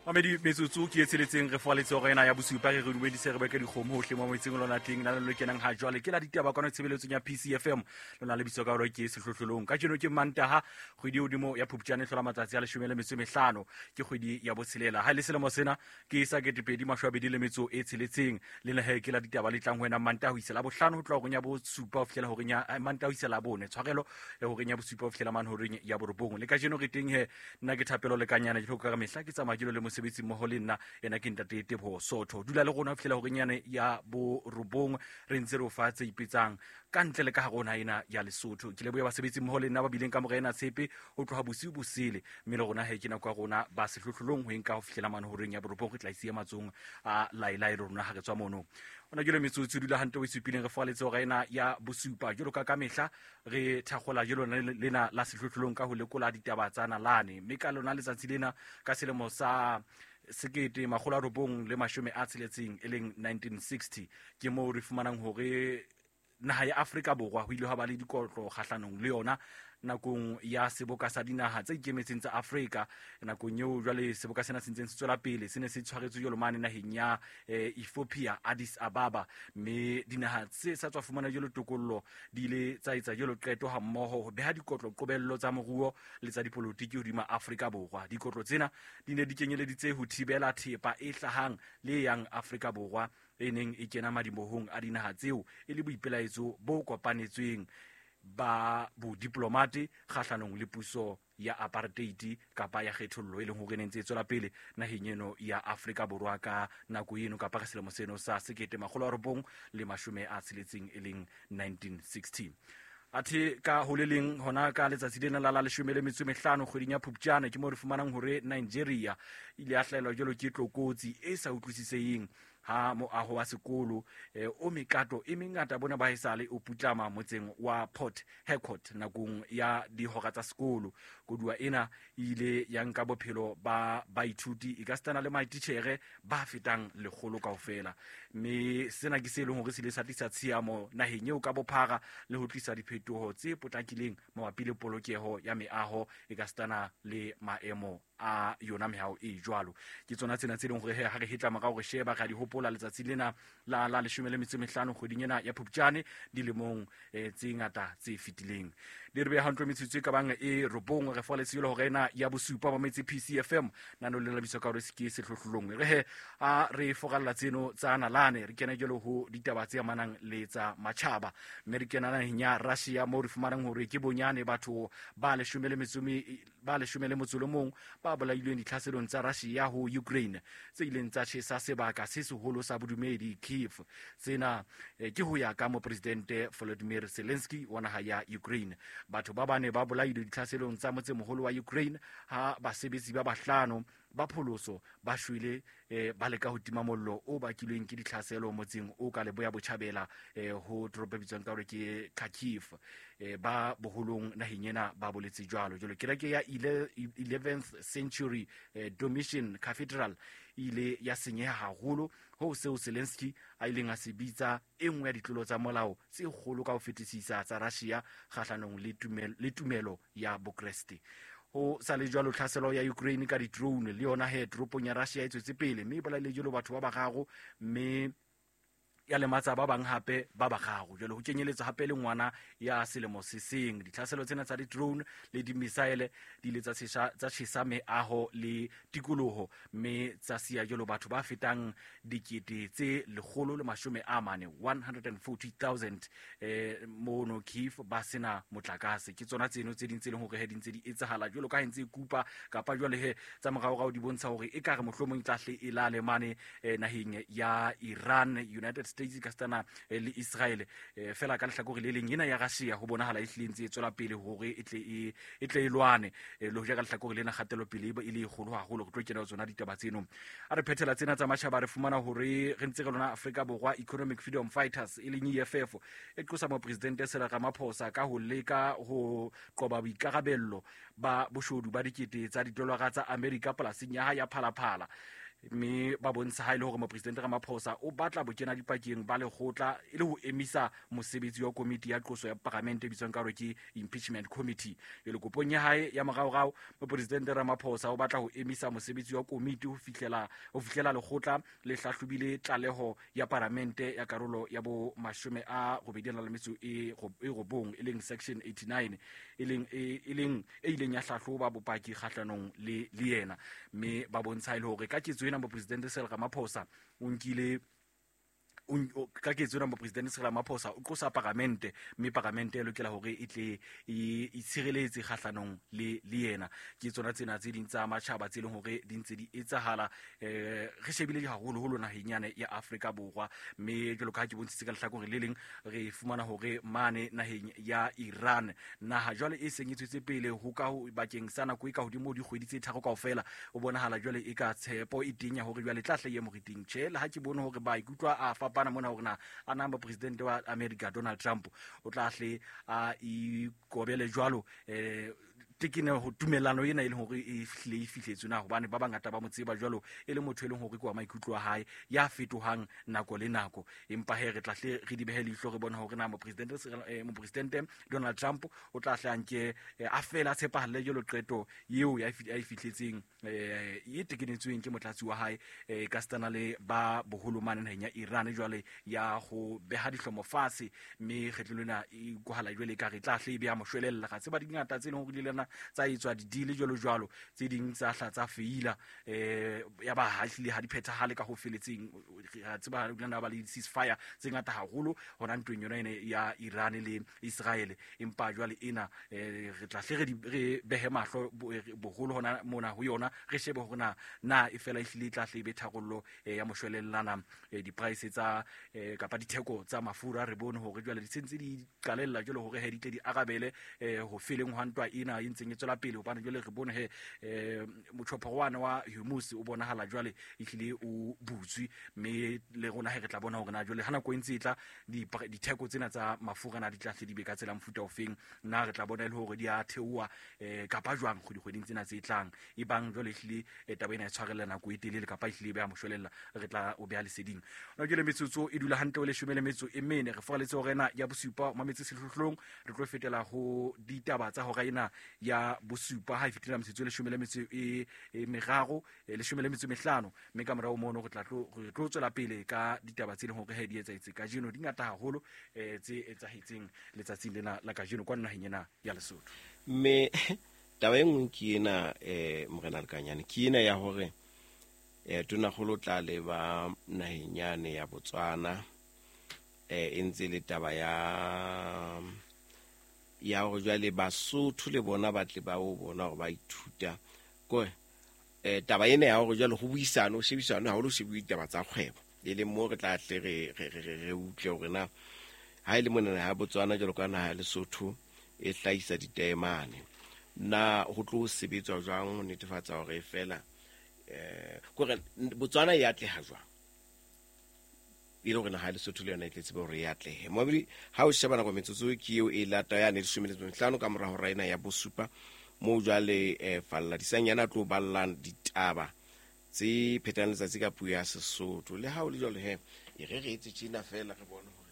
Mamedi metsotso ke e tsheletseng re foaletse hora ena ya bosupa. Re re dumedise, re beke dikgomo hohle mo metseng lona teng. Na le kenang ha jwale ke la ditaba kwano tshebeletsong ya PCFM, lona le bitso ka hore ke Sehlohlolong. Kajeno ke Mantaha, kgwedi e hodimo ya Phupjane e hlola matsatsi a 15, ke kgwedi ya botshelela ha e le selemo sena ke sa 2026. Le lehe ke la ditaba le tlang ho wena Mantaha ho isa la bohlano, ho tloha horeng ya bosupa ho fihlela horeng ya Mantaha ho isa la bone, tshwarelo, horeng ya bosupa ho fihlela mane horeng ya borobong. Le kajeno re teng he, nna ke Thapelo Lekanyana, ke ka mehla ke tsamaya ke le mosebetsi mmoho le nna, ena ke ntate Teboho Sotho. Dula le rona ho fihlela horeng yane ya borobong, re ntse re o fa tse ipetsang ka ntle le ka hare ho naha ena ya Lesotho. Ke lebohe basebetsi mmoho le nna ba bileng ka mora ena tshepe ho tloha bosiu bosele, mme le rona he ke nako ya rona ba Sehlohlolong ho enka ho fihlela mane horeng ya borobong. Re tla isiya matsohong a laelae le rona ha re tswa mono. Ona jalo metsotso dula hantle o e supileng re foaletse hora ena ya bosupa. Jwalo ka ka mehla re thakgola jalo lena la Sehlohlolong ka ho lekola ditaba tsa nalane, mme ka lona letsatsi lena ka selemo sa 1960, e leng 1960, ke moo re fumanang hore naha ya Afrika Borwa ho ile ha ba le dikotlo kgahlanong le yona nakong ya Seboka sa Dinaha tse Ikemetseng tsa Afrika. Nakong eo jwale seboka sena se ntseng se tswela pele, se ne se tshwaretswe jwalo mane naheng ya Ethiopia, Addis Ababa, mme dinaha tse sa tswa fumana jwalo tokollo di ile tsa etsa jwalo qeto ha mmoho ho beha dikotlo qobello tsa moruo le tsa dipolotiki hodima Afrika Borwa. Dikotlo tsena di ne di kenyeleditse ho thibela thepa e hlahang le e yang Afrika Borwa e neng e kena madimohong a dinaha tseo, e le boipelaetso bo kopanetsweng ba bodiplomate kgahlanong le puso ya apartheid kapa ya kgethollo e leng hore e ne ntse e tswela pele naheng eno ya Afrika Borwa ka nako eno, kapa ka selemo seno sa 1960, e leng 1960. Athe ka ho le leng hona ka letsatsi lena la la 15 kgweding ya Phupjane, ke moo re fumanang hore Nigeria ile ya hlahelwa jwalo ke tlokotsi e sa utlwisiseheng ha moaho wa sekolo o mekato e mengata bona ba esale o putlama motseng wa Port Harcourt nakong ya dihora tsa sekolo. Koduwa ena e ile ya nka bophelo ba baithuti e ka setana le maititjhere ba fetang 100 kaofela, mme sena ke se leng hore se ile sa tlisa tshiamo naheng eo ka bophara le ho tlisa diphetoho tse potlakileng mabapi le polokeho ya meaho e ka setana le maemo a yona mehao e jwalo. Ke tsona tsena tse leng hore ha re hetla morao re sheba ra di hopola letsatsi lena la la 15 kgweding ena ya Phupjane dilemong tse ngata tse fetileng. Di re beha hantle metsotso e ka bang e 9, re fa letsatsi le hore ena ya bosupa ba metse PCFM nano le labiswa ka hore se ke Sehlohlolong. Re he a re foralla tseno tsa nalane, re kene jalo ho ditaba tse amanang le tsa matjhaba, mme re kena naheng ya Russia moo re fumanang hore ke bonyane batho ba 11 ba bolailweng ditlhaselong tsa Russia ho Ukraine tse ileng tsa tjhesa sebaka se seholo sa bodumedi Kiev. Tsena ke ho ya ka mopresidente Volodymyr Zelensky wa naha ya Ukraine. Batho ba bane ba bolailwe ditlhaselong tsa motsemoholo wa Ukraine ha basebetsi ba bahlano ba pholoso ba shwele ba leka ho tima mollo o bakilweng ke ditlhaselo motseng o ka leboya botjhabela ho toropo e bitswang ka hore ke Kharkiv. Ba boholong naheng ena ba boletse jwalo. Jwalo kereke ya 11th century Dormition Cathedral e ile ya senyeha haholo ho seo Zelensky a ileng a se bitsa e nngwe ya ditlolo tsa molao tse kgolo ka ho fetisisa tsa Russia kgahlanong le tumelo ya Bokreste. Ho sa le jwalo, tlhaselo ya Ukraine ka di-drone le yona he toropong ya Russia e tswetse pele, mme e bolaile jwalo batho ba bararo mme ya lematsa ba bang hape ba bararo, jwale ho kenyeletswa hape le ngwana ya selemo se seng. Ditlhaselo tsena tsa di-drone le di-missile di ile tsa tjhesa meaho le tikoloho, mme tsa siya jwalo batho ba fetang 140,000, 140,000, mono Kiev ba sena motlakase. Ke tsona tseno tse ding tse leng hore he di ntse di etsahala jwalo ka ha ntse e kupa, kapa jwale he tsa moraorao di bontsha hore e ka re mohlomong e tla hle e lale mane naheng ya Iran, United States ka setana le Israel. Fela ka lehlakore le leng ena ya Russia ho bonahala e hlile ntse e tswela pele hore e tle e lwane, le hoja ka lehlakore lena kgatelopele e le e kgolo haholo. Re tlo kena ho tsona ditaba tseno. A re phethela tsena tsa matjhaba, re fumana hore re ntse re lona Afrika Borwa, Economic Freedom Fighters e leng EFF e qosa mopresidente Cyril Ramaphosa ka ho leka ho qoba boikarabello ba boshodu ba dikete tsa didolara tsa Amerika polasing ya hae ya Phalaphala. Mme ba bontsha ha e le hore mopresidente Ramaphosa o batla bokena dipakeng ba lekgotla e le ho emisa mosebetsi wa komiti ya qoso ya paramente e bitswang ka hore ke impeachment committee. Jwale kopong ya hae ya moraorao, mopresidente Ramaphosa o batla ho emisa mosebetsi wa komiti ho fihlela lekgotla le hlahlobile tlaleho ya paramente ya karolo ya bo 89, e leng section 89, e leng e ileng ya hlahloba bopaki kgahlanong le yena. Mme ba bontsha e le hore ka ketso ena mopresidente Cyril Ramaphosa o nkile ka ketso ena mopresidente Cyril Ramaphosa o qosa paramente, mme paramente e lokela hore e tle e itshireletse kgahlanong le yena. Ke tsona tsena tse ding tsa matjhaba tse leng hore di ntse di etsahala, re shebile haholoholo naheng yane ya Afrika Borwa. Mme jwalo ka ha ke bontshitse ka lehlakoreng le leng, re fumana hore mane naheng ya Iran, naha jwale e seng e tswetse pele ho ka bakeng sa nako e ka hodimo dikgwedi tse 3 kaofela, o bonahala jwale e ka tshepo e teng ya hore jwale tla hle ye moriting. Tjhe, le ha ke bone hore ba ikutlwa a fapana mona hore na a na mopresidente wa America Donald Trump o tla hle a ikobele jwalo tekene ho tumellano ena e leng hore e hlile e fihletswe na, hobane ba bangata ba mo tseba jwalo e le motho e leng hore ke wa maikutlo a hae ya fetohang nako le nako. Empa he re tla hle re di behe leihlo re bone hore na mopresidente Donald Trump o tla hle a nke a fela a tshepahalle jwalo qeto eo ya e fihletseng e tekenetsweng ke motlatsi wa hae ka setana le ba boholo mane naheng ya Iran jwale ya ho beha dihlomo fatshe. Mme kgetlo lena e utlwahala jwale e ka re tla hle e beha moshwelella. Ga tseba dingata tse leng hore di lena tsa etswa di-deal jwalo jwalo, tse ding tsa hla tsa feila, ya ba ha hlile ha di phethahale ka ho feletseng. Re tseba ha ba le ceasefire tse ngata haholo hona ntweng yona ene ya Iran le Israel. Empa jwale ena re tla hle re behe mahlo boholo hona mona ho yona, re shebe hore na e fela ehlile e tla hle e be tharollo ya moshwelellana. Di-price tsa kapa ditheko tsa mafura re bone hore jwale di sentse di qalella jwale hore he di tle di arabele ho feleng hwa ntwa ena e ntseng e tswela pele, hobane jwale re bone he motjhophorwana wa Hormuz o bonahala jwale ehlile o butswe. Mme le rona he re tla bona hore na jwale ha nako e ntse e tla ditheko tsena tsa mafura na di tla hle di be ka tsela mofuta ofeng, na re tla bona e le hore di a theoha kapa jwang kgweding tsena tse tlang. E bang jwale ehlile taba ena e tshwarella nako e telele kapa ehlile e beha moshwelella, re tla o beha leseding. Hona jwale metsotso e dula hantle o 14, re foraletse hora ena ya bosupa mametse sehlohlolong. Re tlo fetela ho ditaba tsa hora ena ya bosupa ha e fetela metsotso e 13, 15, mme ka morao mono re tlo tswela pele ka ditaba tse leng hore he di etsahetse kajeno. Di ngata haholo tse etsahetseng letsatsing lena la kajeno kwa naheng ena ya Lesotho. Mme taba e nngwe ke ena, morena Lekanyane, ke ena ya hore tonakgolo tla leba naheng yane ya Botswana, e ntse le taba ya hore jwale Basotho le bona ba tle ba o bona hore ba ithuta ko taba ena ya hore jwale ho buisane, ho shebisane haholo, ho shebuwe ditaba tsa kgwebo, e leng moo re tla tle re utlwe hore na ha e le mona naha ya Botswana jwalo ka naha ya Lesotho e hlahisa ditaemane, na ho tlo sebetswa jwang ho netefatsa hore fela kore Botswana e atleha jwang, e le hore naha ya Lesotho le yona e tle tsebe hore e atlehe. Mobili ha o sheba nako metsotso ke eo e lata ya 15 ka mora hora ena ya bosupa, moo jwale Falla Disanyana a tlo ballang ditaba tse phetang letsatsi ka puo ya Sesotho. Le ha o le jwalo he, e re re etse tjena fela re bone.